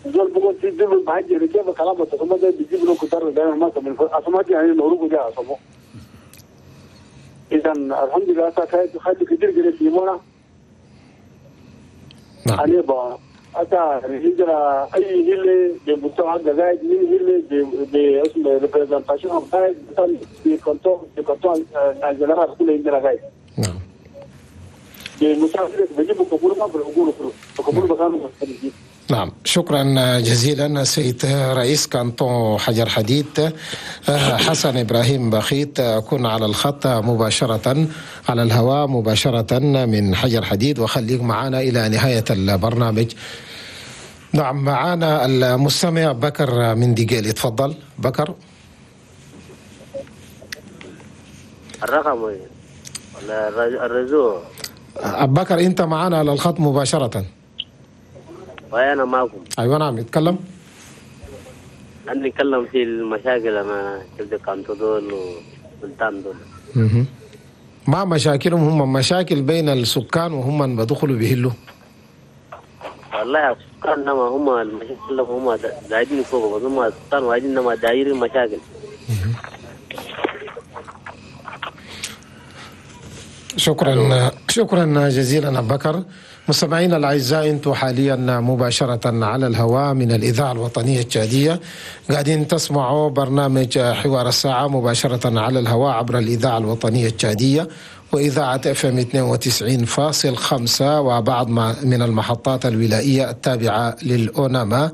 زول بقول في دول بهجر كيف كلام تسمو ده بيجيب له كتر دائما ما تسمو أسمعت يعني نورو جا أسمو. إذا الحمد لله تاكيد خد كتير كده في مونا. نعم. أنا با أتا هجرة أي هلة بمستوى قاعد من هلة باسم representation قاعد مثلا في كنترول الجنرال كله هجرة قاعد. نعم. نعم، شكرا جزيلا سيد رئيس كانتون حجر حديد حسن إبراهيم بخيت. كن على الخط مباشرة على الهواء مباشرة من حجر حديد، وخليك معنا إلى نهاية البرنامج. نعم، معنا المستمع بكر من ديجيل. تفضل بكر. الرقم ولا الرزو؟ بكر انت معنا على الخط مباشرة. وانا معكم. ايوه نعم، اتكلم. انا نتكلم في المشاكل انا كنت كانتو دول وسلطان دول. ما مشاكلهم؟ هم مشاكل بين السكان وهم بدخلوا بهلوا. والله السكان نما هم المشاكل هم قاعدين فوق، بس هم السكان وقاعدين نما دايرين مشاكل. شكرا، شكرا جزيلا أبو بكر. مستمعينا الاعزاء، انتم حاليا مباشرة على الهواء من الاذاعة الوطنية التشاديه، قاعدين تسمعوا برنامج حوار الساعة مباشرة على الهواء عبر الاذاعة الوطنية التشاديه واذاعة FM 92.5 وبعض من المحطات الولائيه التابعة للاوناما.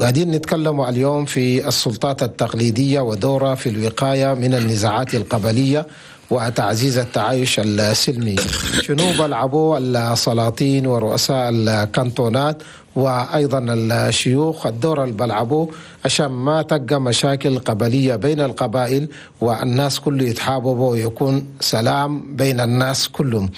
قاعدين نتكلم اليوم في السلطات التقليدية ودورها في الوقاية من النزاعات القبلية وتعزيز التعايش السلمي. شنو بلعبوا السلاطين ورؤساء الكانتونات وأيضا الشيوخ الدور اللي بلعبوه عشان ما تبقى مشاكل قبلية بين القبائل والناس كله يتحاببوا ويكون سلام بين الناس كلهم.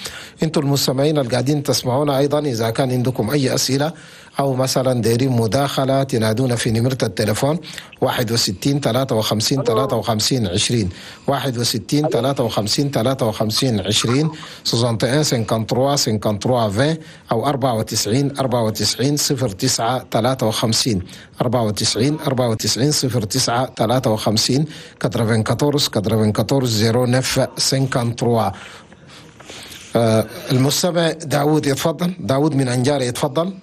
انتم المستمعين اللي قاعدين تسمعونا أيضا، إذا كان عندكم أي أسئلة أو مثلا دايرين مداخلة تنادونا في نمرة التليفون 61 53 53 20 61 53 53 20 61 53 53 20 أو 94 94 09 53 94 94 09 53 94 94 09 53. المستمع داود يتفضل. داود من أنجاري يتفضل.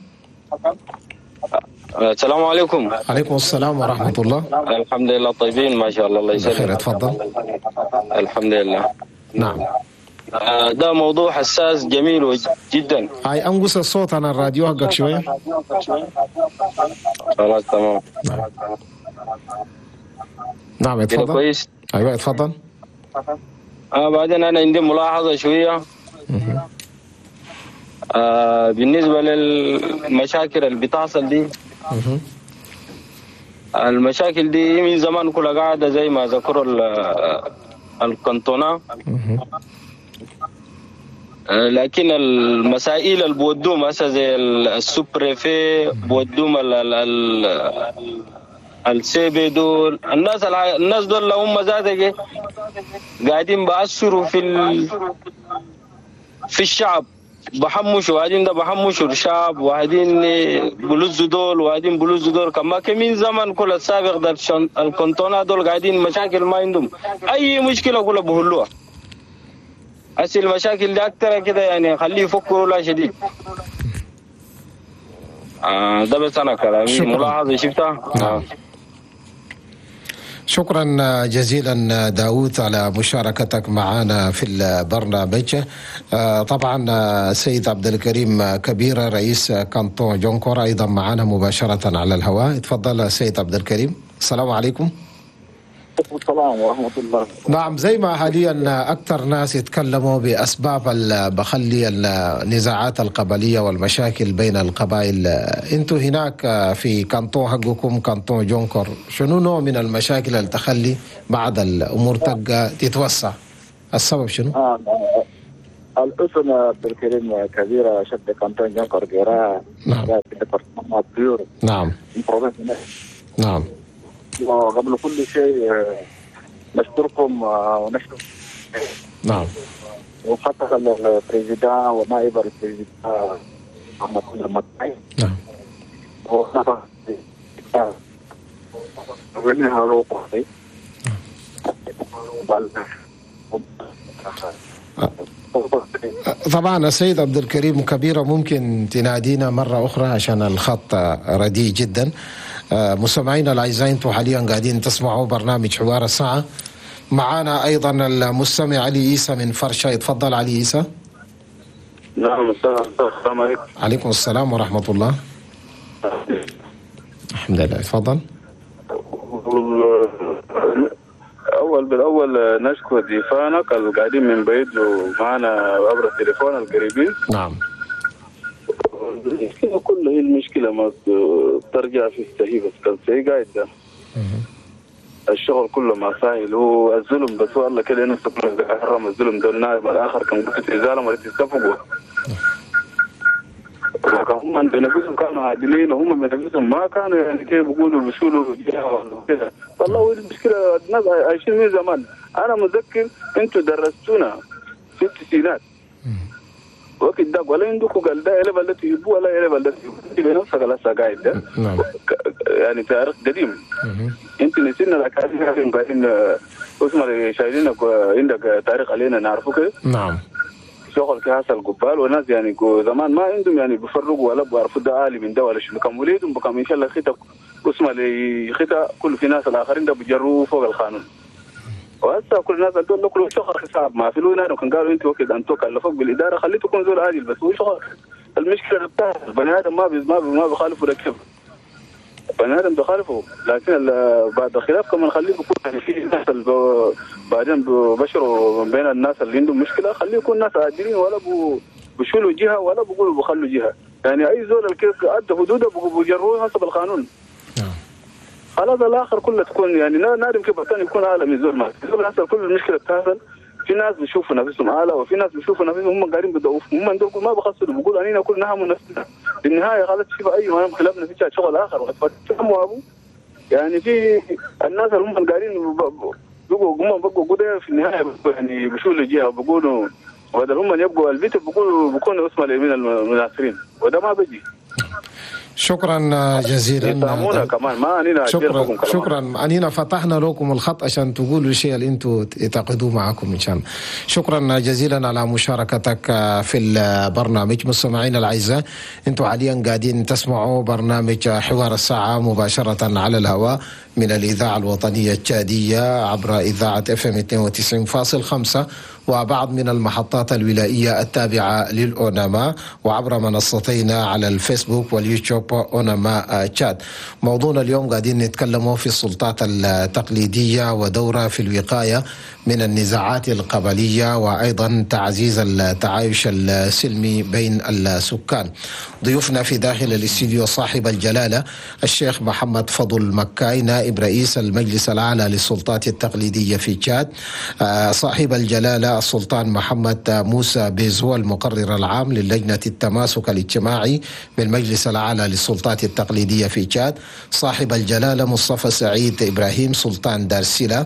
السلام عليكم. عليكم السلام ورحمة الله. الحمد لله طيبين ما شاء الله، الله يسلمك. بخير، تفضل. الحمد لله. نعم. ده موضوع حساس جميل جدا. هاي انقص الصوت انا الراديو حقك شوية. خلاص تمام. نعم اتفضل. كويس. ايوه اتفضل. بعدين انا عندي ملاحظة شوية. بالنسبة للمشاكل اللي بتحصل دي، المشاكل دي من زمان كلها قاعدة زي ما ذكروا الكنتونة، لكن المسائل اللي بودوم هسه زي ال sous-préfet بودوم السيبي دول، الناس دول لو هم ذاتك قاعدين بأثروا في الشعب، بحمشوا وقاعدين ده بحمشوا الشعب، وقاعدين بلزوا دول وقاعدين بلزوا دول. كما كمين زمن كل السابق ده الكنتونة دول قاعدين مشاكل ما عندهم أي مشكلة كلها بهلوها. أصل المشاكل دي أكتر كده يعني خليه يفكروا لا شديد. ده بس أنا كلامي ملاحظة شفتها. نعم. شكرا جزيلا داود على مشاركتك معنا في البرنامج. طبعا سيد عبد الكريم كبيرة رئيس كانتون جونكور أيضا معنا مباشرة على الهواء. تفضل سيد عبد الكريم. السلام عليكم. السلام ورحمة الله. نعم، زي ما حاليا أكثر ناس يتكلموا بأسباب بخلي النزاعات القبلية والمشاكل بين القبائل، انتوا هناك في canton حقكم canton جونكور، شنو نوع من المشاكل اللي تخلي بعض الأمور تبقى تتوسع؟ السبب شنو؟ الاسم عبد الكريم كبيرة chef de canton جونكور جيرا. نعم. نعم نعم. وقبل كل شيء نشكركم ونشكر نعم وخاصة ال président ونائب ال président محمد المكاي. نعم. طبعا السيد عبد الكريم كبيرة ممكن تنادينا مرة أخرى عشان الخط رديء جدا. مستمعينا الأعزاء، انتم حاليا قاعدين تسمعوا برنامج حوار الساعة. معانا أيضا المستمع علي عيسى من فرشة. يتفضل علي عيسى. نعم، السلام عليكم. عليكم السلام ورحمة الله. الحمد لله، تفضل. أول بالأول نشكر ضيفانك القاعدين من بعيد ومعنا عبر التليفون القريبين. نعم. المشكلة كلها هي المشكلة ما ترجع في السهي، بس كان سهي قاعد ده الشغل كله ما سهل، هو الظلم بس والله كده نفسه حرم الظلم ده. النائب الآخر كان قلت إزالة ما تتفقوا، هم بنفسهم كانوا عادلين وهم بنفسهم ما كانوا يعني كيف بيقولوا بيشولوا كده. والله المشكلة الناس عايشين من زمان. أنا متذكر أنتوا درستونا في التسعينات وقت ده، ولا عندكم قال ده إلى بلد يبوا ولا إلى بلد يبوا بنفسك لسه قاعد ده. يعني تاريخ قديم. أنت نسينا الأكاذيب بعدين اسمه شايلينك عندك تاريخ علينا نعرفه كده. نعم. شغل كحصل قبال وناس يعني زمان ما عندهم يعني بيفرقوا ولا بيعرفوا ده عالي من ده ولا شنو. كان وليدهم بكم ان شاء الله خطه اسمه لخطة كل في ناس الاخرين ده بيجروا فوق القانون. وهسه كل الناس دول كل شغل حساب ما في لونه. كان قالوا انت وقت انتوا كلفوك بالادارة خليته يكون زول عادل بس هو شغل. المشكلة بتاع البني ادم ما بيخالفوا ده كيف بني ادم بخالفه، لكن بعد الخلاف كمان خليه يكون يعني في ناس بعدين بشروا بين الناس اللي عندهم مشكلة، خليه يكون ناس عادلين ولا بشولوا جهة ولا بقولوا بخلوا جهة. يعني اي زول الكيف ادى حدوده بجروه حسب القانون. خلاص الاخر كله تكون يعني نادم كيف الثاني يكون اعلى من زول ما زول. حصل كل المشكلة بتحصل في ناس بيشوفوا نفسهم اعلى وفي ناس بيشوفوا نفسهم هم قاعدين بيضعفوا، هم دول ما بخسروا بيقولوا انينا كلنا هم نفسنا. في النهاية خلاص شوف اي ما خلافنا في شغل اخر وفهموا ابو يعني في الناس اللي هم قاعدين بقوا هم بقوا كده في النهاية يعني بيشولوا جهة بيقولوا بدل هم يبقوا البيت بيقولوا بيكونوا اسمه اليمين المناصرين وده ما بيجي. شكرا جزيلا. كمان ما أنينا شكرا شكرا. أنينا فتحنا لكم الخط عشان تقولوا الشيء اللي انتم تعتقدوه معكم ان شاء الله. شكرا جزيلا على مشاركتك في البرنامج. مستمعينا الاعزاء، انتم حاليا قاعدين تسمعوا برنامج حوار الساعة مباشرة على الهواء من الاذاعة الوطنية التشاديه عبر اذاعة FM 92.5 وبعض من المحطات الولائية التابعة للأوناما وعبر منصتينا على الفيسبوك واليوتيوب أوناما تشاد. موضوعنا اليوم قاعدين نتكلموا في السلطات التقليدية ودورها في الوقاية من النزاعات القبلية وأيضا تعزيز التعايش السلمي بين السكان. ضيوفنا في داخل الاستديو صاحب الجلالة الشيخ محمد فضل مكاي نائب رئيس المجلس الأعلى للسلطات التقليدية في تشاد، صاحب الجلالة السلطان محمد موسى بيزو المقرر العام للجنة التماسك الاجتماعي بالمجلس الأعلى للسلطات التقليدية في تشاد، صاحب الجلالة مصطفى سعيد إبراهيم سلطان دارسيلا،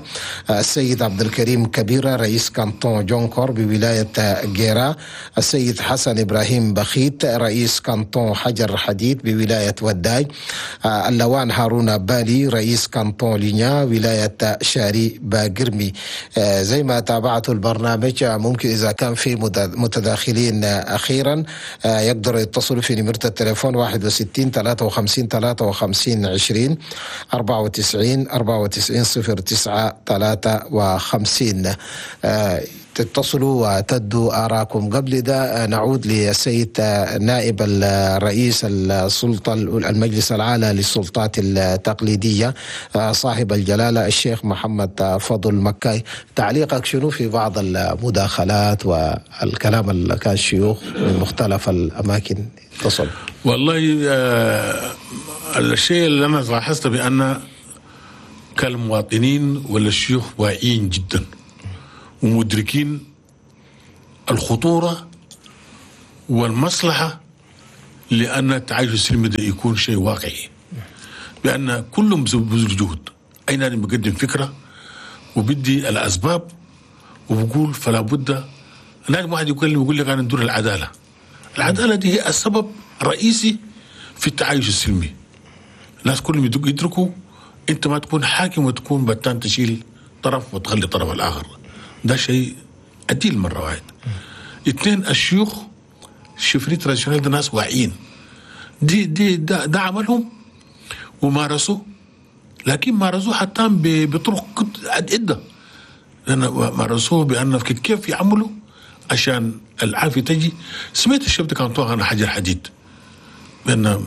السيد عبد الكريم كبيرة رئيس canton جونكور بولاية جيرا، السيد حسن إبراهيم بخيت رئيس canton حجر حديد بولاية وداي، اللوان هارون بالي رئيس canton لينيا ولاية شاري باقرمي. زي ما تابعتوا البرنامج، ممكن إذا كان في متداخلين أخيرا يقدروا يتصلوا في نمرة التليفون 61 64 53 53 20 94 94 09 53. تتصلوا وتدوا آراءكم. قبل ده نعود للسيد نائب الرئيس السلطة المجلس الأعلى للسلطات التقليدية صاحب الجلالة الشيخ محمد فضل مكاي، تعليقك شنو في بعض المداخلات والكلام اللي كان الشيوخ من مختلف الأماكن اتصل؟ والله الشيء اللي أنا لاحظته بأن كالمواطنين ولا الشيوخ واعيين جدا ومدركين الخطورة والمصلحة لأن التعايش السلمي ده يكون شيء واقعي، بأن كلهم بذل جهد. أين أنا بقدم فكرة وبدي الأسباب وبقول فلا بد. أنا واحد يكلم يقول لك أنا ندور العدالة. العدالة دي هي السبب الرئيسي في التعايش السلمي. الناس كلهم يدركوا أنت ما تكون حاكم وتكون بتان تشيل طرف وتخلي الطرف الآخر، ده شيء عديل مرة واحد. اثنين، الشيوخ chefferies traditionnelles ده ناس واعيين، دي دي ده عملهم ومارسوه، لكن مارسوه حتى بطرق عدة. لأن مارسوه بأن كيف يعملوا عشان العافية تجي. سمعت ال chef de canton عن حجر حديد بأن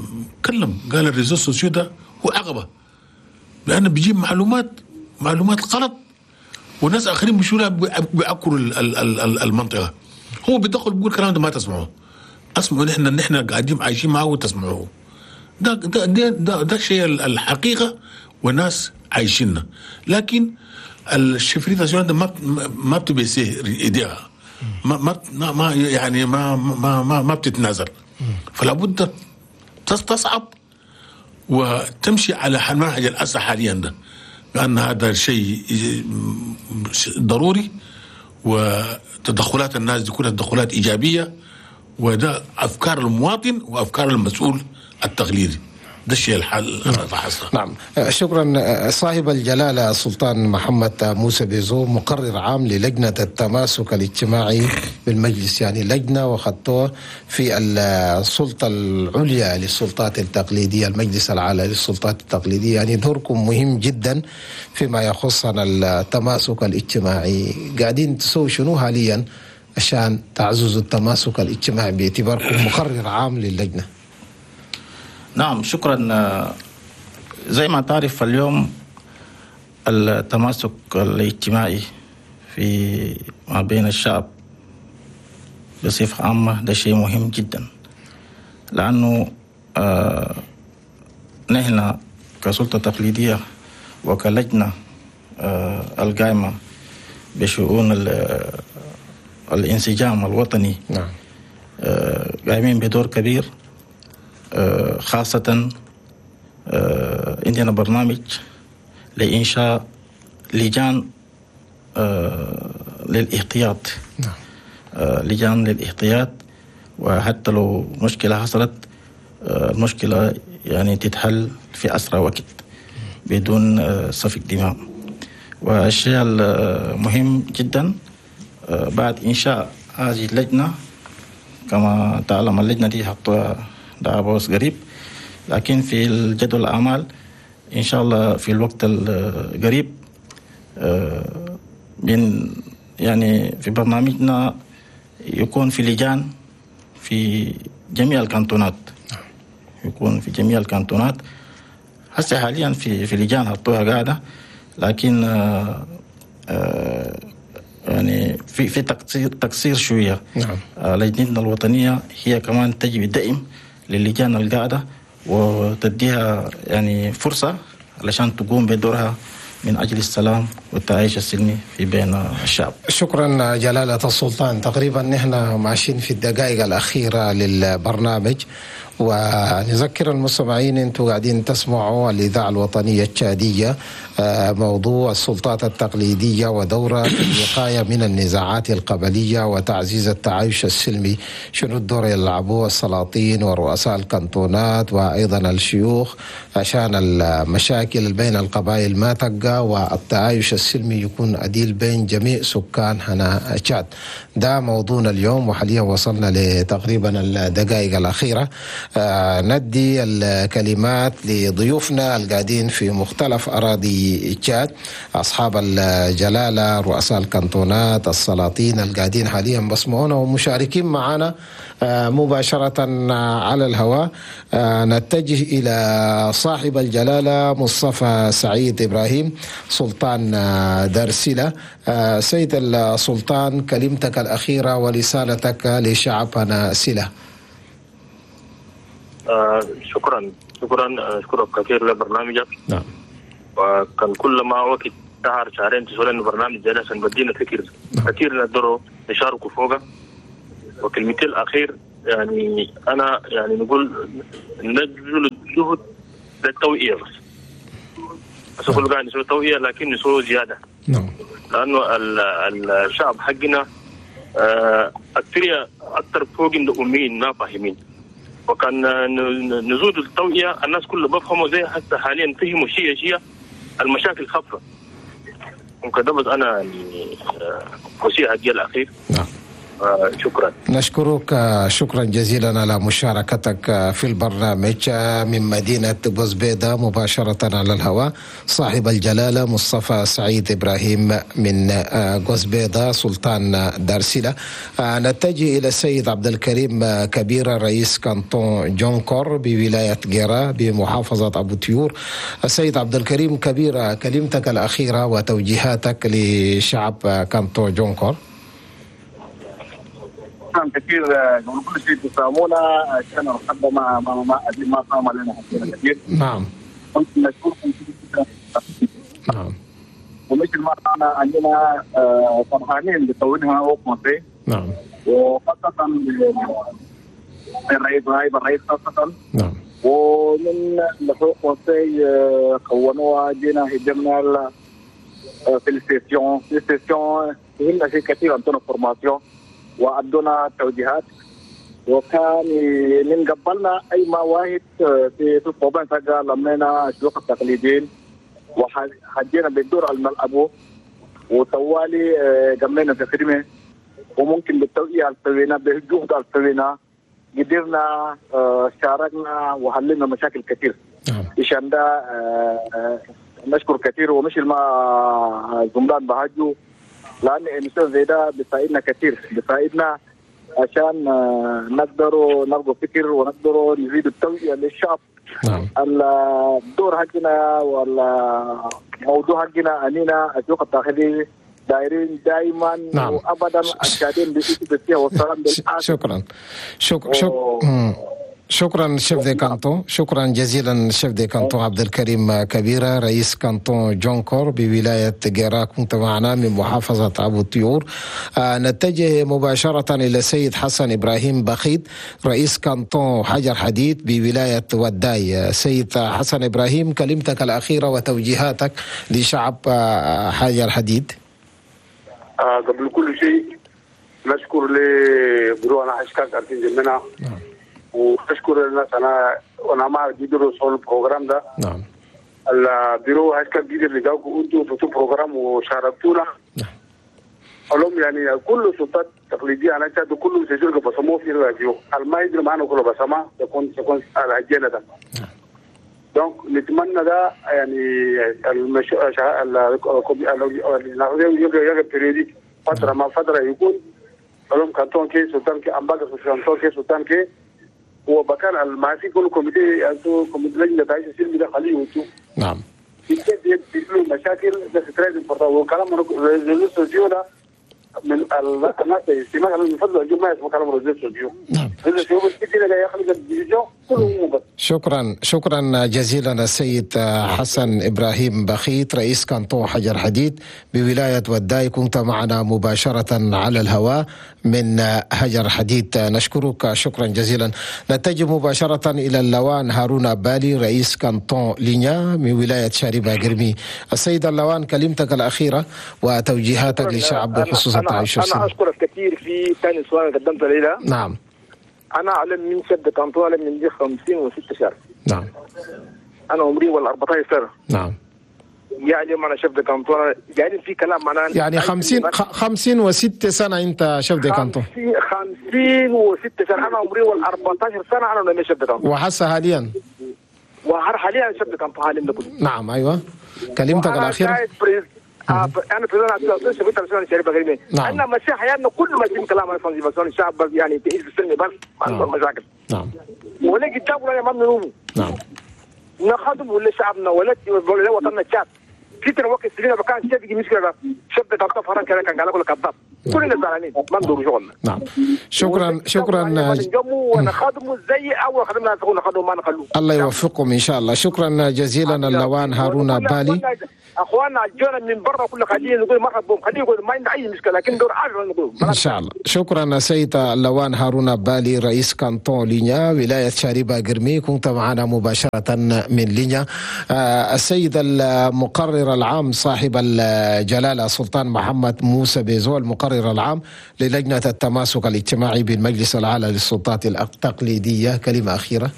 كلم قال ال réseaux sociaux ده هو عقبة، لأن بيجيب معلومات غلط وناس اخرين بيشولها بيعكروا المنطقة. هو بيدخل بيقول كلام ده ما تسمعوه، اسمعوا نحن قاعدين عايشين معه وتسمعوه. ده ده ده ده, ده الشيء الحقيقة والناس عايشيننا. لكن ال chefferies ده ما بتبيسيه ايديها، ما ما ما يعني ما ما ما, ما بتتنازل. فلا بد تصعب وتمشي على منهج الاسى حاليا ده، بأن هذا الشيء ضروري، وتدخلات الناس دي كلها تدخلات إيجابية، وده أفكار المواطن وأفكار المسؤول التقليدي. ده الشيء الحال. نعم، شكرا صاحب الجلالة السلطان محمد موسى بيزو، مقرر عام للجنة التماسك الاجتماعي بالمجلس، يعني لجنة وخطوة في السلطة العليا للسلطات التقليدية، المجلس الأعلى للسلطات التقليدية. يعني دوركم مهم جدا فيما يخص التماسك الاجتماعي. قاعدين تسووا شنو حاليا عشان تعززوا التماسك الاجتماعي باعتباركم مقرر عام للجنة؟ نعم، شكرا. زي ما تعرف اليوم التماسك الاجتماعي في ما بين الشعب بصفة عامة ده شيء مهم جدا، لأنه نحن كسلطة تقليدية وكلجنة القائمة بشؤون الانسجام الوطني، نعم، قائمين بدور كبير. خاصة عندنا برنامج لإنشاء لجان للاحتياط، نعم، لجان للاحتياط، وحتى لو مشكلة حصلت المشكلة يعني تتحل في أسرع وقت بدون سفك دماء. والشيء المهم جدا بعد إنشاء هذه اللجنة، كما تعلم اللجنة دي حطوها دعابوس قريب، لكن في الجدول الأعمال إن شاء الله في الوقت القريب من يعني في برنامجنا يكون في لجان في جميع الكانتونات، يكون في جميع الكانتونات. هسه حاليا في لجان حطوها قاعدة، لكن يعني في تقصير شوية. نعم. لجنتنا الوطنية هي كمان تجي دائم للجان القاعدة وتديها يعني فرصة علشان تقوم بدورها من أجل السلام والتعايش السلمي في بين الشعب. شكرا جلالة السلطان. تقريبا نحن ماشيين في الدقائق الأخيرة للبرنامج، ونذكر المستمعين انتم قاعدين تسمعوا الإذاعة الوطنية التشادية، موضوع السلطات التقليدية ودورها في الوقاية من النزاعات القبلية وتعزيز التعايش السلمي. شنو الدور يلعبوه السلاطين ورؤساء الكانتونات وأيضا الشيوخ عشان المشاكل بين القبائل ما تبقى والتعايش السلمي السلمي يكون عديل بين جميع سكان هنا تشاد. ده موضوعنا اليوم، وحاليا وصلنا لتقريبا الدقائق الأخيرة. ندي الكلمات لضيوفنا القاعدين في مختلف أراضي تشاد، أصحاب الجلالة، رؤساء الكانتونات، السلاطين القاعدين حاليا بسمعونا ومشاركين معنا مباشرة على الهواء. نتجه إلى صاحب الجلالة مصطفى سعيد إبراهيم سلطان دارسلة. سيد السلطان، كلمتك الأخيرة ورسالتك لشعبنا سلة. شكرا أشكرك كثير لبرنامجك. نعم. وكان كل ما وقت شهر شهرين تسولنا إنه برنامج زي ده عشان بدينا فكر كثير نقدروا نشاركوا فوقه. وكلمتي الأخير يعني أنا يعني نقول نبذل الجهد للتوعية، بس كل قاعد نسوي توعية لكن نسوي زيادة. نعم. لأنه الشعب حقنا أكثر فوق أمين ما فاهمين، وكان نزود التوعية الناس كلها بفهموا زي حتى حاليا فهموا شيء المشاكل خفة. وكذا بس أنا يعني وصية حقي الأخير. نعم. شكرا. نشكرك شكرا جزيلا على مشاركتك في البرنامج من مدينة بوزبيدة مباشرة على الهواء، صاحب الجلالة مصطفى سعيد إبراهيم من بوزبيدة سلطان دارسلة. نتجه إلى السيد عبد الكريم كبير، رئيس كانتون جونكور بولاية جيرا بمحافظة أبو تيور. السيد عبد الكريم كبير، كلمتك الأخيرة وتوجيهاتك لشعب كانتون جونكور. شكرا كثير قبل كل شيء تسامونا عشان الحبة ما ما ما ما قام لنا كثير. نعم. نشكركم كثير. نعم. ومثل ما عندنا فرحانين بتونها وقفه. نعم. وخاصة الرئيس نائب الرئيس خاصة. نعم. ومن الحقوق conseil كونوها جينا هجمنا في ال session فهمنا شيء كثير عندنا formation وأدونا توجيهات، وكان من قبلنا أي ما واحد في الصوبان فجأة لمينا الشيوخ التقليديين وحجينا بالدور الملعبو وطوالي جمعنا في خدمة، وممكن بالتوعية السوينا بالجهد السوينا قدرنا شاركنا وحللنا مشاكل كثير. عشان ده نشكر كثير، ومش ما زملان بهجوا لأن الإنسان زي ده بيساعدنا كثير، بيساعدنا عشان نقدروا نلقوا فكر ونقدروا نزيد التوعية للشعب. نعم. الدور حقنا والموضوع حقنا أننا السوق الداخلي دايرين دائما. نعم. وأبدا الشادين بإيد والسلام. شكرا. شكرا chef de canton، شكرا جزيلا chef de canton عبد الكريم كبيرة رئيس كانتون جونكور بولاية جيرا، كنت معنا من محافظة أبو طيور. نتجه مباشرة إلى السيد حسن إبراهيم بخيت رئيس كانتون حجر حديد بولاية وداي. سيد حسن إبراهيم، كلمتك الأخيرة وتوجيهاتك لشعب حجر حديد. قبل كل شيء نشكر لبرونا حشكاك أرتين جمنا. نعم. واشكر الناس انا مع جدير صول ال programme ده. نعم. البيرو هاشتاج جديد اللي جاوكم انتوا في ال programme وشاركتونا. نعم. علوم يعني كل السلطات التقليديه انا شاهد كله سجل بصموه في الراديو ما يدري معنا كله بصمه يكون على الجنه ده. نعم. donc نتمنى ده يعني المش ال فتره ما فتره يكون علوم كانتون كي سلطان كي امباك سلطان كي سلطان كي وبكان الماسي كل comité انتو comité لجنه تعيش السلم ده خليه انتو. نعم. في مشاكل ده très important وكلام réseaux sociaux ده من الناس الاجتماع من فضل الجماعه اسمه كلام réseaux sociaux. نعم. réseaux sociaux بس كده يخلق ال division كله بس. شكرا شكرا جزيلا السيد حسن ابراهيم بخيت رئيس كانتون حجر حديد بولايه وداي، كنت معنا مباشره على الهواء من حجر حديد، نشكرك شكرا جزيلا. نتجه مباشره الى اللوان هارون بالي رئيس كانتون لينيا من ولايه شاربة قرمي. السيد اللوان، كلمتك الاخيره وتوجيهاتك للشعب بخصوص التعايش السلمي. انا اشكرك كثير في ثاني سؤال قدمته لي. نعم. أنا أعلم من chef de canton أعلم من دي 56 شهر. نعم. أنا عمري ولا 14 سنة. نعم. يعني ما انا chef de canton، يعني في كلام معناه. يعني 56 سنة انت chef de canton؟ 56 سنه، انا عمري وال 14 سنة انا nommé chef de canton. وحسه حاليا؟ وهر حاليا chef de canton حاليا ده كله. نعم، ايوه، كلمتك الاخيره. انا président association شاريبا قرمي. انا ماشي حياتنا كل ما كلام عن sensibilisation الشعب، بس يعني تعيش بالسلم، بس ما عندهم مشاكل. ولا قدام ولا ما بنوموا. نخدم ولا شعبنا ولا وطننا تشاد. في وقت سنين كان شيء بيجي مشكله، chef de canton فران كان قال لك كذاب، كلنا زعلانين، ما ندور شغلنا. نعم، شكرا شكرا. ونخدموا زي اول خدمنا، نخدموا ما نخلوه. الله يوفقكم ان شاء الله، شكرا جزيلا اللوان هارون بالي. اخواننا جونا من برا كل، خليه نقول مرحبا بهم، خليه يقول ما عندنا اي مشكله، لكن دور عارف نقول. ان شاء الله، شكرا سيد اللوان هارون بالي، رئيس كانتون لينيا، ولاية شاربا قرمي، كنت معنا مباشرة من لينيا. السيد المقرر العام صاحب الجلاله سلطان محمد موسى بيزو، المقرر العام للجنة التماسك الاجتماعي بالمجلس الاعلى للسلطات التقليديه، كلمة اخيره.